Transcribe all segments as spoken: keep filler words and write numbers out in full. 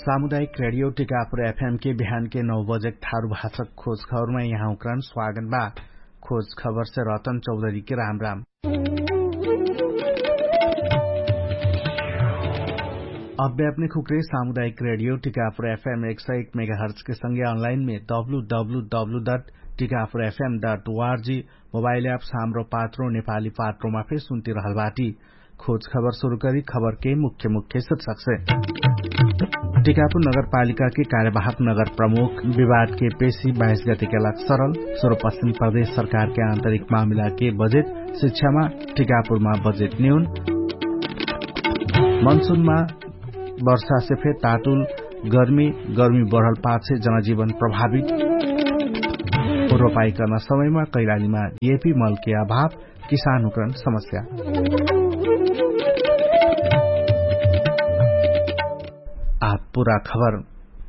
सामुदायिक रेडियो टिकापुर एफएम के बिहान के नौ बजेक थारु भाषक खोज खबरमा यहाँ उक्रान स्वागत बा। खोज खबर से रतन चौधरी के राम राम। अव्यापने खुक्रे सामुदायिक रेडियो टिकापुर एफएम एक सौ एक मेगाहर्च के संगे अनलाइन में W W W dot Tikapur FM dot ORG mobile app साम्रो पात्रो नेपाली पात्रोमा फेर सुन्ति रहल बाटी। खोज खबर सुरु करी खबर के मुख्य मुख्य शीर्षक से। टिकापुर नगरपालिका के कार्यवाहक नगर प्रमुख विवाद के पेशी बाइस गते के लाग सरल। सुरु पश्चिम प्रदेश सरकार के आन्तरिक मामिला के बजेट शिक्षामा टिकापुरमा बजेट न्यून। मनसुनमा वर्षा से फेर तातुल गर्मी गर्मी बढल पाछे जनजीवन प्रभावित। रोपाई कर्ना समयमा कैलालीमा येपी मलके अभाव। किसान हुकरण समस्या। आब पुरा खबर।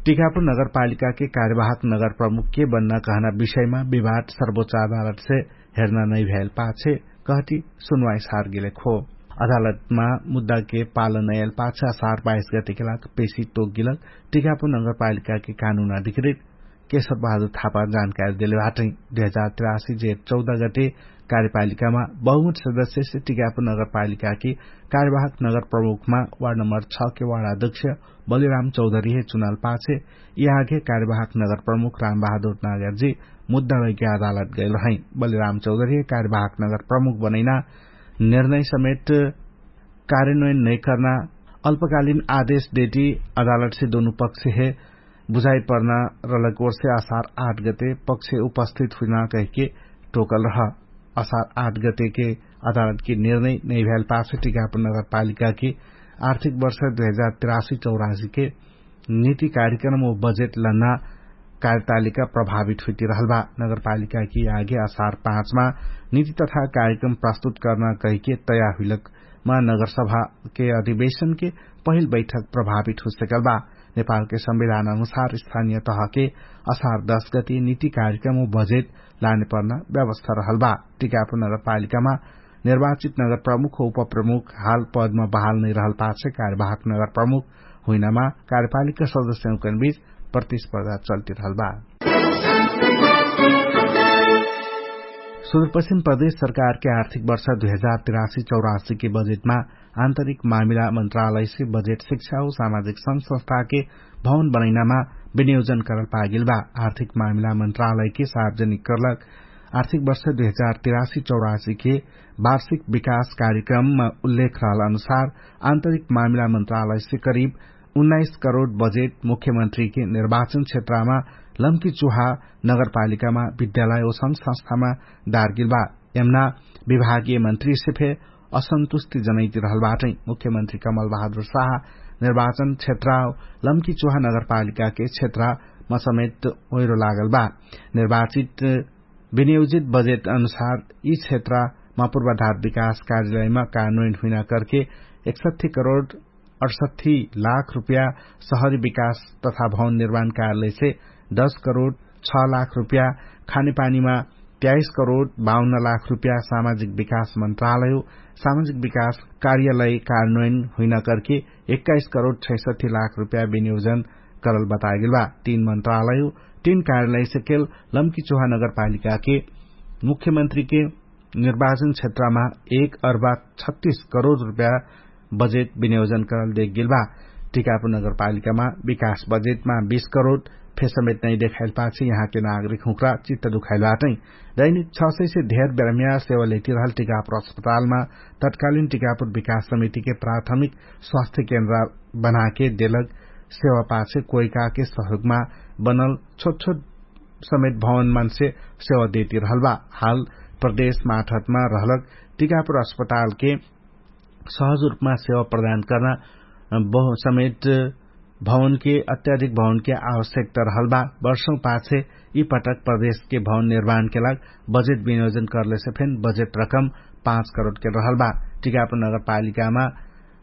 टिकापुर नगरपालिका के कार्यवाहक नगर प्रमुख के बन्ना कहना विषयमा विवाद सर्वोच्च अदालत से हेर्ना नैभ्याएल पाछे कहती सुनवाई सार गेलेक हो। अदालतमा मुद्दा के पालन नैएल पाछे असार बाइस गते के लाग पेशी तोक गेलक। टिकापुर नगरपालिका के कानुन अधिकृत केशव बहादुर थापा जानकारी देले बाटै। दुई हजार तिरासी जेठ चौध गते कार्यपालिकामा बहुमत सदस्य से टिकापुर नगरपालिका कि कार्यवाहक नगर प्रमुखमा वार्ड नम्बर छ के वार्ड अध्यक्ष बलिराम चौधरी हे चुनाल पाछे यहाँके कार्यवाहक नगर प्रमुख राम बहादुर नागरजी मुद्दा लैके अदालत गैल रहै। बलिराम चौधरी हे कार्यवाहक नगर प्रमुख बनैना निर्णय समेट कार्यान्वयन नैकर्ना अल्पकालिन आदेश देटी अदालटसे दोनु पक्षहे बुझाइ पर्ना रलक ओर्से असार आठ गते पक्षे उपस्थित हुइना कहिके टोकल रह। असार आठ गतेके अदालटके निर्णय नैभ्याल पाछे टिकापुर नगरपालिकाके आर्थिक वर्ष दुई हजार तिरासी चौरासीके निति कार्यक्रम ओ बजेट लन्ना कार्यतालिका प्रभावित हुइति रहल बा। नगरपालिकाके आगे असार पाँचमा निति तथा कार्यक्रम प्रस्तुत कर्ना कहिके तयार हुइलक मा नगरसभाके अधिवेशनके पहिल बैठक प्रभावित हुइसकल बा। नेपालके संविधान अनुसार स्थानिय तहके असार दश गति निति कार्यक्रम ओ बजेट लाने पर्ना व्यवस्था रहल बा। टिकापुर नगरपालिकामा निर्वाचित नगर प्रमुख ओ उपप्रमुख हाल पदमा बहाल नैरहल पाछे कार्यवाहक नगर प्रमुख हुइनामा कार्यपालिका सदस्यहुँकन बीच प्रतिस्पर्धा चल्ति रहल बा। सुदूरपश्चिम प्रदेश सरकारके आर्थिक वर्ष दुई हजार तिरासी चौरासीके बजेटमा आन्तरिक मामिला मन्त्रालयसे बजेट शिक्षा ओ सामाजिक संस्था संस्थाके भवन बनैनामा विनियोजन करल पागेल बा। आर्थिक मामिला मन्त्रालयके सार्वजनिक करलक आर्थिक वर्ष दुई हजार तिरासी चौरासीके वार्षिक विकास कार्यक्रममा उल्लेख रहल अनुसार आन्तरिक मामिला मन्त्रालयसे करिब उन्नाइस करोड बजेट मुख्यमन्त्रीके निर्वाचन क्षेत्रमा लम्की चुहा नगरपालिकामा विद्यालय ओ संग संस्थामा दारगेल बा। यमना विभागीय मन्त्रीसे फे असन्तुष्टि जनैति रहल बाटै। मुख्यमन्त्री कमल बहादुर साहा निर्वाचन क्षेत्र लम्की चुहा नगरपालिकाके क्षेत्रमा समेत ओइरो लागल बा। निर्वाचित विनियोजित बजेट अनुसार यि क्षेत्रमा पूर्वाधार विकास कार्यालयमा कानुन हुइना करके एकसठ्ठी करोड अठसठ्ठी लाख रुपया सहरी विकास तथा भवन निर्माण कार्यालयसे दश करोड छ लाख रुपया खानेपानीमा त्याइस करोड बाउन्न लाख रुपया सामाजिक विकास मन्त्रालय सामाजिक विकास कार्यालय कार्यान्वयन हुइना करके एक्काइस करोड छैसठ्ठी लाख रुपया विनियोजन करल बतागेल बा। तीन मन्त्रालय तीन कार्यालयसे केल लम्की चुहा नगरपालिकाके मुख्यमन्त्रीके निर्वाचन क्षेत्रमा एक अर्बा छत्तीस करोड रुपया बजेट विनियोजन करल देख गेल बा। टिकापुर नगरपालिकामा विकास बजेटमा बीस करोड फेसमेट नै देखाइल पाछे यहाँके नागरिक हुँक्रा चित्त दुखाइल बाटै। दैनिक छ सय से धेर बेरम्या सेवा लेति रहल टिकापुर अस्पतालमा तत्कालिन टिकापुर विकास समितिके प्राथमिक स्वास्थ्य केन्द्र बनाके देलक सेवा पाछे कोइकाके सहयोगमा बनल छोट छोट समेत भवन मानसे सेवा देति रहल बा। हाल प्रदेश माठतमा रहलक टिकापुर अस्पतालके सहज रुपमा सेवा प्रदान कर्ना समेत भवनके अत्याधिक भवनके आवश्यकता रहल बा। वर्षौं पाछे यि पटक प्रदेशके भवन निर्माणके लाग बजेट विनियोजन करलेसे फेन बजेट रकम पाँच करोडके रहल बा। टिकापुर नगरपालिकामा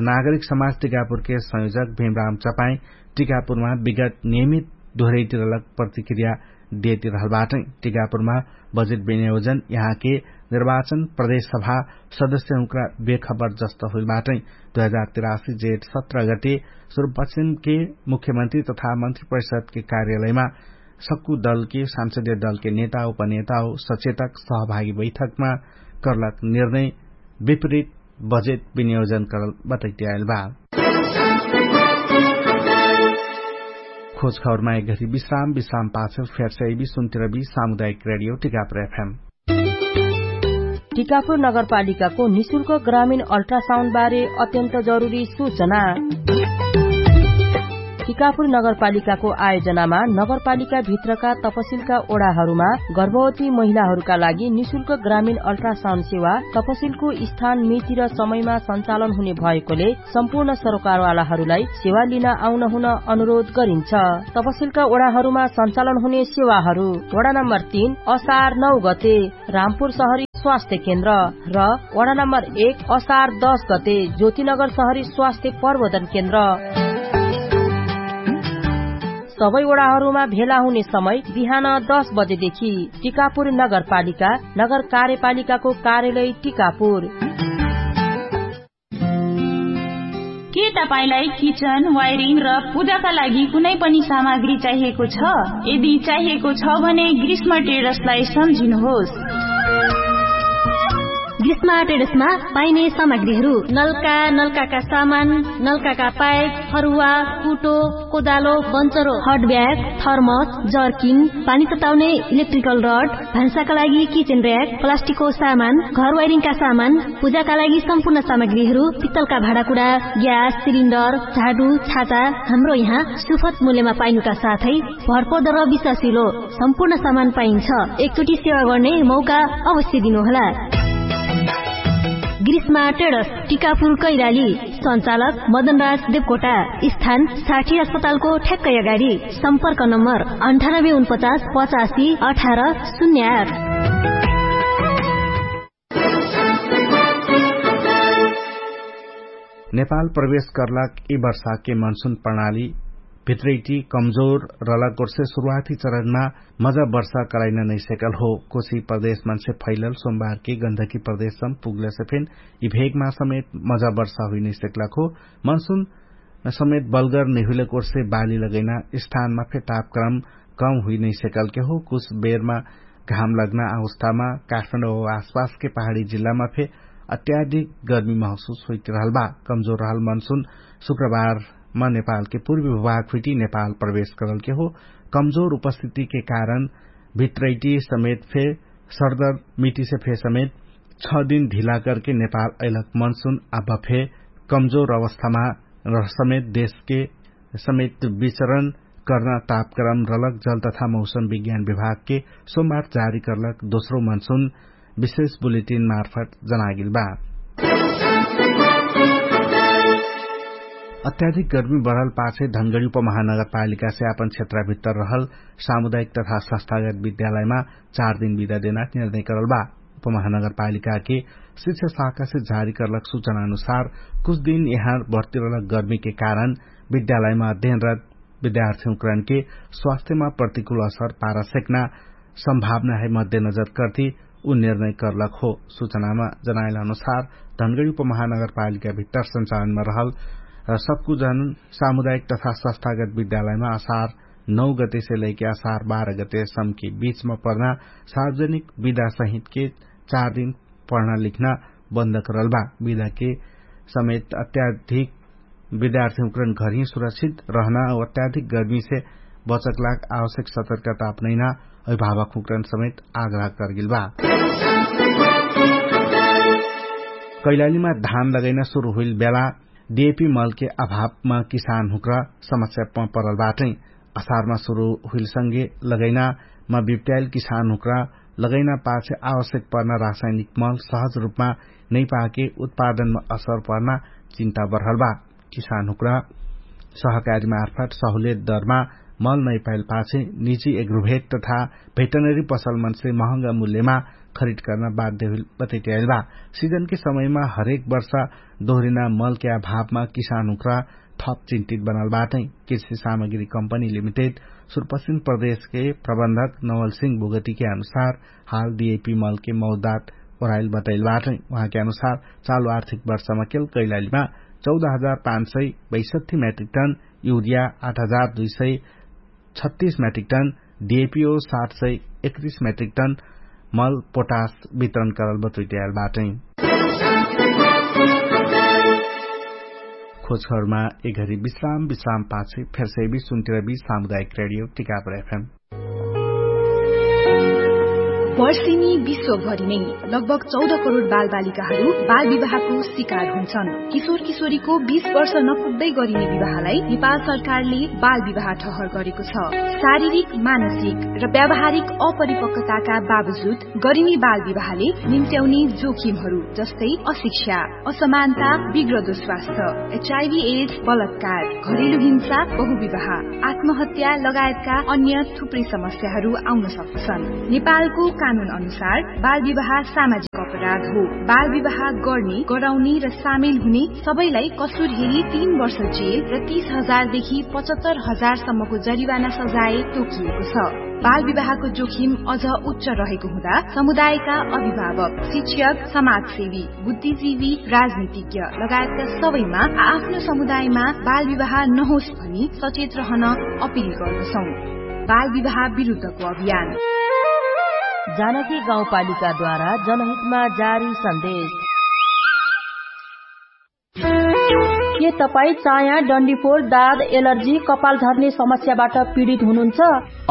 नागरिक समाज टिकापुरके संयोजक भीमराम चपाई टिकापुरमा विगत नियमित दोहरैति रहलक प्रतिक्रिया देति रहल बाटै। टिकापुरमा बजेट विनियोजन यहाँके निर्वाचन प्रदेश सभा सदस्य हुँक्रा बेखबर जस्त हुइल बाटै। दुई हजार तिरासी जेठ सत्र गते सुरुपश्चिमके मुख्यमन्त्री तथा मन्त्री परिषदके कार्यालयमा सक्कु दलके सांसदीय दलके नेता उपनेता सचेतक सहभागी बैठकमा कर्लक निर्णय विपरीत बजेट विनियोजन करल बतैत्याएल बा। खोज खबरमा एक घरी विश्राम विश्राम पाछे फेरसे अइबी सुन्तिरबी सामुदायिक रेडियो टिकापुर एफएम। टिकापुर नगरपालिकाको निशुल्क ग्रामीण अल्ट्रासाउन्ड बारे अत्यन्त जरुरी सूचना। टिकापुर नगरपालिकाको आयोजनामा नगरपालिकाभित्रका तपसिलका ओडाहरूमा गर्भवती महिलाहरूका लागि निशुल्क ग्रामीण अल्ट्रासाउन्ड सेवा तपसिलको स्थान मिति र समयमा सञ्चालन हुने भएकोले सम्पूर्ण सरोकारवालाहरूलाई सेवा लिन आउन हुन अनुरोध गरिन्छ। तपसिलका ओडाहरूमा सञ्चालन हुने सेवाहरू वडा नम्बर तीन असार नौ गते रामपुर सहरी स्वास्थ्य केन्द्र र वडा नम्बर एक असार दस गते ज्योतिनगर सहरी स्वास्थ्य प्रबोधन केन्द्र। सबै वडाहरूमा भेला हुने समय बिहान दस बजेदेखि। टिकापुर नगरपालिका नगर कार्यपालिकाको कार्यालय टिकापुर। के तपाईंलाई किचन वायरिङ र पूजाका लागि कुनै पनि सामग्री चाहिएको छ? यदि चाहिएको छ भने ग्रीष्म ट्रेडर्सलाई सम्झिनुहोस्। ग्रीष्म ट्रेडर्समा पाइने सामग्रीहरू नल्का, नल्काका सामान, नल्काका पाइप, फरुवा, कुटो, कोदालो, बन्चरो, हट ब्याग, थर्मस, जर्किन, पानी तताउने इलेक्ट्रिकल रड, भान्साका लागि किचन र्‍याक, प्लास्टिकको सामान, घर वायरिङका सामान, पूजाका लागि सम्पूर्ण सामग्रीहरू, पित्तलका भाँडाकुँडा, ग्यास सिलिन्डर, झाडु, छाता, हाम्रो यहाँ सुफत मूल्यमा पाइनुका साथै भरपर्दो र विश्वासिलो सम्पूर्ण सामान पाइन्छ। एकचोटि सेवा गर्ने मौका अवश्य दिनुहोला। ग्रीष्मा ट्रेडर्स, टिकापुर कैलाली। सञ्चालक मदनराज देवकोटा। स्थान साठी अस्पतालको ठ्याक्कै अगाडि। सम्पर्क नम्बर अन्ठानब्बे उनपचास पचासी अठार शून्य आठ। नेपाल प्रवेश कर्लाक यि वर्षाके मनसुन प्रणाली भित्रैटी कमजोर रलक गोर्से सुरुवाती चरणमा मजा वर्षा कराइन नैसेकल हो। कोशी प्रदेश मनसे फैलल सोमबारके गन्धकी प्रदेशसम पुग्लसे फेन यि भेगमा समेत मजा वर्षा हुइ नैसेकलक हो। मनसुन समेत बलगर नैहुइलक ओर्से बाली लगैना स्थानमा फे तापक्रम कम हुइ नैसेकलके हो। कुछ बेरमा घाम लग्ना अवस्थामा काठमाडौं आसपासके पहाडी जिल्लामा फे अत्याधिक गर्मी महसुस हुइट रहल बा। कमजोर रहल मनसुन शुक्रबारमा नेपालके पूर्वी भूभाग हुइटी नेपाल प्रवेश करलके हो। कमजोर उपस्थितिके कारण भित्रैटी समेत फे सरदर मिटिसे फे समेत छ दिन ढिला करके नेपाल अइलक मनसुन आब फे कमजोर अवस्थामा रह समेत देशके समेत विचरण कर्ना तापक्रम रलक जल तथा मौसम विज्ञान विभागके सोमबार जारी कर्लक दोस्रो मनसुन विशेष बुलेटिन मार्फत जनागेल बा। अत्याधिक गर्मी बढल पाछे धनगडी उपमहानगरपालिकासे आपन क्षेत्रभित्तर रहल सामुदायिक तथा संस्थागत विद्यालयमा चार दिन बिदा देना निर्णय करल बा। उपमहानगरपालिकाके शिक्षा शाखासे जारी करलक सूचना अनुसार कुछ दिन यहाँ बढतिरलक गर्मीके कारण विद्यालयमा अध्ययनरत विद्यार्थीहुँकरणके स्वास्थ्यमा प्रतिकूल असर पारा सेक्ना सम्भावना है मध्यनजर कर्ति उ निर्णय कर्लक हो। सूचनामा जनाइल अनुसार धनगडी उपमहानगरपालिका भित्तर सञ्चालनमा रहल र सक्कुजन सामुदायिक तथा संस्थागत विद्यालयमा असार नौ गतेसे लैके असार बाह्र गते सम्के बीचमा पर्ना सार्वजनिक विदा सहितके चार दिन पढ्ना लिख्ना बन्द करल बा। विदाके समेत अत्याधिक विद्यार्थीहुँकरण घरही सुरक्षित रहना अत्याधिक गर्मीसे बचकलाग आवश्यक सतर्कता अपनैना अभिभावकहुँकरण समेत आग्रह करगेल बा। कैलालीमा धान लगैना सुरु हुइल बेला डिएपी मलके अभावमा किसानहुँक्रा समस्यामा परल बाटै। असारमा सुरु हुइलसँगे लगैनामा बिप्ट्याइल किसानहुँक्रा लगैना पाछे आवश्यक पर्ना रासायनिक मल सहज रुपमा नैपाके उत्पादनमा असर पर्ना चिन्ता बढल बा। किसानहुँक्रा सहकारी मार्फत सहुलेत दरमा मल नैपाइल पाछे निजी एग्रोभेट तथा भेटनरी पसलमनसे महँगा मुल्यमा खरिद कर्ना बाध्य हुइल बतैट्याइल बा। सिजनके समयमा हरेक वर्षा दोहरिना मलके अभावमा किसानहुँक्रा थप चिन्तित बनल बाटै। कृषि सामग्री कम्पनी लिमिटेड सुरपश्चिम प्रदेशके प्रबन्धक नवलसिंह बोगतिके अनुसार हाल डिएपी मलके मौदात ओराइल बतैल बाटै। उहाँके अनुसार चालु आर्थिक वर्षमा केल कैलालीमा चौध हजार पाँच सय बैसठ्ठी म्याट्रिक टन युरिया, आठ हजार दुई सय छत्तीस म्याट्रिक टन डिएपी ओ सात सय एकतिस म्याट्रिक टन मल पोटास वितरण करल बतुइटियाल बाटै। खोजखबरमा एघरी विश्राम विश्राम पाछे फेरसै बि सुन्तिर बि सामुदायिक रेडियो टिकापुर एफएम। वर्षिनी विश्वभरि नै लगभग चौध करोड बालबालिकाहरू बाल विवाहको शिकार हुन्छन्। किशोर किशोरीको बीस वर्ष नपुग्दै गरिने विवाहलाई नेपाल सरकारले बाल विवाह ठहर गरेको छ। शारीरिक, मानसिक र व्यावहारिक अपरिपक्वताका बावजुद गरिने बाल विवाहले निम्त्याउने जोखिमहरू जस्तै अशिक्षा, असमानता, बिग्रदो स्वास्थ्य, एचआइभी एड्स, बलात्कार, घरेलु हिंसा, बहुविवाह, आत्महत्या लगायतका अन्य थुप्रै समस्याहरू आउन सक्दछन्। नेपालको कानुन अनुसार बाल विवाह सामाजिक अपराध हो। बाल विवाह गर्ने, गराउने र सामेल हुने सबैलाई कसुर हेरी तीन वर्ष जेल र तीस हजार देखि पचहत्तर हजार सम्मको जरिवाना सजाय तोकिएको छ। बाल विवाहको जोखिम अझ उच्च रहेको हुँदा समुदायका अभिभावक, शिक्षक, समाजसेवी, बुद्धिजीवी, राजनीतिज्ञ लगायतका सबैमा आफ्नो समुदायमा बाल विवाह नहोस् भनी सचेत रहन अपिल गर्दछौं। बाल विवाह विरुद्धको अभियान। जानकी गाउँपालिकाद्वारा जनहितमा जारी सन्देश। के तपाईँ चाया, डन्डीफोर, दाद, एलर्जी, कपाल झर्ने समस्याबाट पीडित हुनुहुन्छ?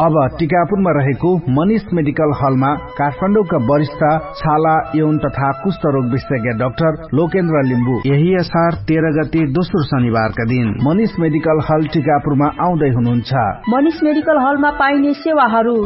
अब टिकापुरमा रहेको मनिष मेडिकल हलमा काठमाडौँका वरिष्ठ छाला, यौन तथा कुष्ठरोग विशेषज्ञ डाक्टर लोकेन्द्र लिम्बू यही असार तेह्र गते दोस्रो शनिबारका दिन मनिष मेडिकल हल टिकापुरमा आउँदै हुनुहुन्छ। मनिष मेडिकल हलमा पाइने सेवाहरू: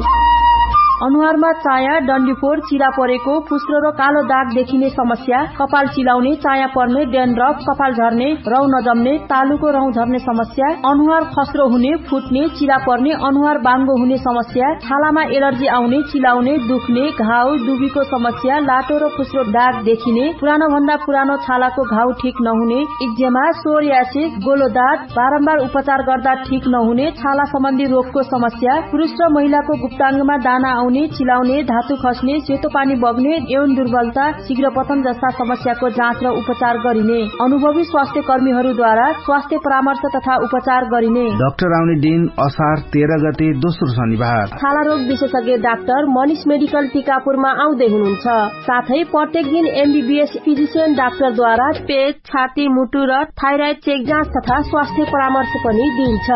अनुहारमा चाया, डन्डीफोर, चिरा परेको, फुस्रो र कालो दाग देखिने समस्या, कपाल चिलाउने, चाया पर्ने, डेन्ड्रफ, कपाल झर्ने, रौ नजम्ने, तालुको रौ झर्ने समस्या, अनुहार खस्रो हुने, फुट्ने, चिरा पर्ने, अनुहार बाङ्गो हुने समस्या, छालामा एलर्जी आउने, चिलाउने, दुख्ने, घाउ, दुबीको समस्या, लाटो र फुस्रो दाग देखिने, पुरानो भन्दा पुरानो छालाको घाउ ठिक नहुने, इक्जेमा, सोरियासिस, गोलो दाग, बारम्बार उपचार गर्दा ठिक नहुने, छाला सम्बन्धी रोगको समस्या, पुरुष र महिलाको गुप्ताङ्गमा दाना आउने, चिलाउने, धातु खस्ने, सेतो पानी बग्ने, यौन दुर्बलता, शीघ्र पतन जस्ता समस्याको जाँच र उपचार गरिने। अनुभवी स्वास्थ्य कर्मीहरूद्वारा स्वास्थ्य परामर्श तथा उपचार गरिने। डाक्टर आउने दिन असार तेह्र गते दोस्रो शनिबार। छाला रोग विशेषज्ञ डाक्टर मनिष मेडिकल टिकापुरमा आउँदै हुनुहुन्छ। साथै प्रत्येक दिन एमबीबीएस फिजिसियन डाक्टरद्वारा पेट, छाती, मुटु र थाइराइड चेक जाँच तथा स्वास्थ्य परामर्श पनि दिइन्छ।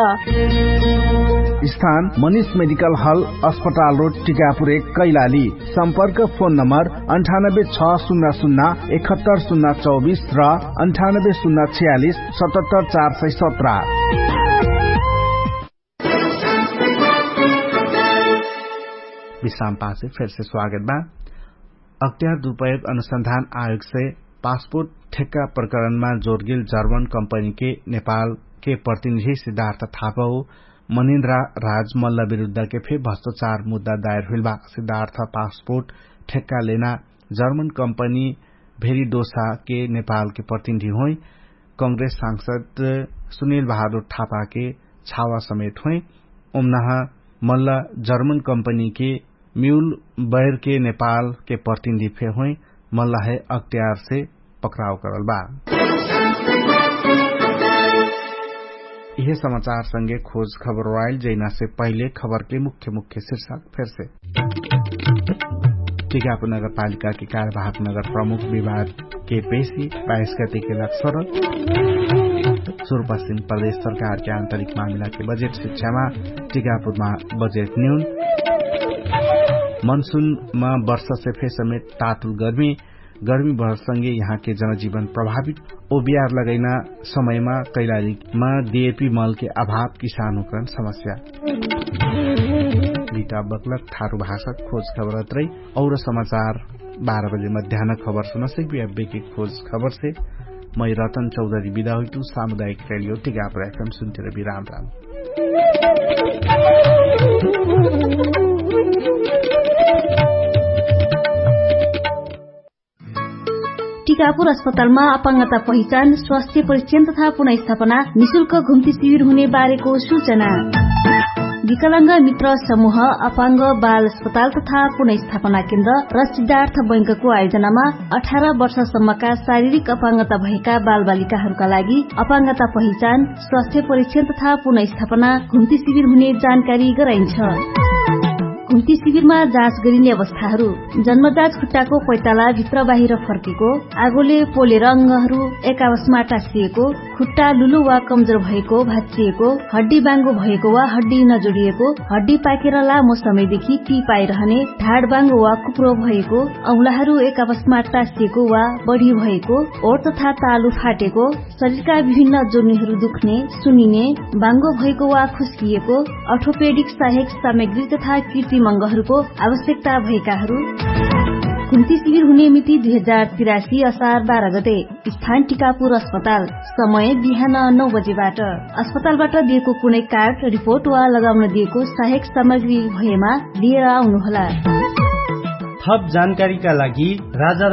स्थान मनिष मेडिकल हल, अस्पताल रोड, टिकापुर एक, कैलाली। सम्पर्क फोन नम्बर अन्ठानब्बे छ शून्य शून्य एकहत्तर शून्य चौबिस र अन्ठानब्बे शून्य छयालिस सतहत्तर चार सय सत्र। विश्राम पासे फेरसे स्वागत बा। अख्तियार दुरुपयोग अनुसन्धान आयोगसे पासपोर्ट ठेक्का प्रकरणमा जोरगेल जर्मन कम्पनीके नेपालके प्रतिनिधि सिद्धार्थ थापा हो मनिन्द्रा राज मल्ल विरुद्धके फे भ्रष्टाचार मुद्दा दायर हुइल बा। सिद्धार्थ पासपोर्ट ठेक्का लेना जर्मन कम्पनी भेरिडोसाके नेपालके प्रतिनिधि होइ। कांग्रेस सांसद सुनिल बहादुर थापाके छावा समेत होइ। ओमनाह मल्ल जर्मन कम्पनीके म्युल बैरके नेपालके प्रतिनिधि फे होइ। मल्ल है अख्तियारसे पक्राव करल बा। इहे समाचार संगे खोज खबर वाइल जैनासे पहिले खबरके मुख्य मुख्य शीर्षक फेरसे। टिकापुर नगरपालिकाके कार्यवाहक नगर प्रमुख विवादके पेशी बाइस गतेके लक्ष्य र सुरुपश्चिम प्रदेश सरकारके आन्तरिक मामिलाके बजेट शिक्षामा टिकापुरमा बजेट न्यून। मनसुनमा वर्षसे फे समेत तातुल गर्मी गर्मी भरसँगे यहाँके जनजीवन प्रभावित। ओबियार लगैना समयमा कैलालीमा दिएपी मलके अभाव किसानुकरण समस्या। लिटा बक्लक थारु भाषा खोज खबरत रही। और समाचार बाह्र बजे मध्यान खबर सुनसै बियाबेके खोज खबरसे मै रतन चौधरी बिदा हुइतु। सामुदायिक रेडियो टिकापुर एफएम सुन्तिर बिराम राम। टिकापुर अस्पतालमा अपाङ्गता पहिचान, स्वास्थ्य परीक्षण तथा पुनर्स्थापना निशुल्क घुम्ती शिविर हुने बारेको सूचना। विकलाङ्ग मित्र समूह अपाङ्ग बाल अस्पताल तथा पुनर्स्थापना केन्द्र र सिद्धार्थ बैंकको आयोजनामा अठार वर्षसम्मका शारीरिक अपाङ्गता भएका बालबालिकाहरूका लागि अपाङ्गता पहिचान, स्वास्थ्य परीक्षण तथा पुनर्स्थापना घुम्ती शिविर हुने जानकारी गराइन्छ। घुम्ती शिविरमा जाँच गरिने अवस्थाहरू। जन्मजात खुट्टाको पैताला भित्र बाहिर फर्केको, आगोले पोलेर अङ्गहरू एकावशमा टाँसिएको, खुट्टा लुलो वा कमजोर भएको, भाँचिएको, हड्डी बाङ्गो भएको वा हड्डी नजोडिएको, हड्डी पाकेर लामो समयदेखि ती पाइरहने, ढाड बाङ्गो वा कुप्रो भएको, औलाहरू एकावशमा टाँसिएको वा बढी भएको, ओठ तथा तालु फाटेको, शरीरका विभिन्न जोर्नीहरू दुख्ने, सुनिने, बाङ्गो भएको वा खुस्किएको, अर्थोपेडिक सहायक सामग्री तथा कृत्रिम अङ्गहरूको आवश्यकता भएकाहरू। घुम्ती शिविर हुने मिति दुई हजार तिरासी असार बाह्र गते। स्थान टिकापुर अस्पताल। समय बिहान नौ बजेबाट। अस्पतालबाट दिएको कुनै कार्ड, रिपोर्ट वा लगाउन दिएको सहायक सामग्री भएमा लिएर आउनुहोला। थप जानकारीका लागि राजा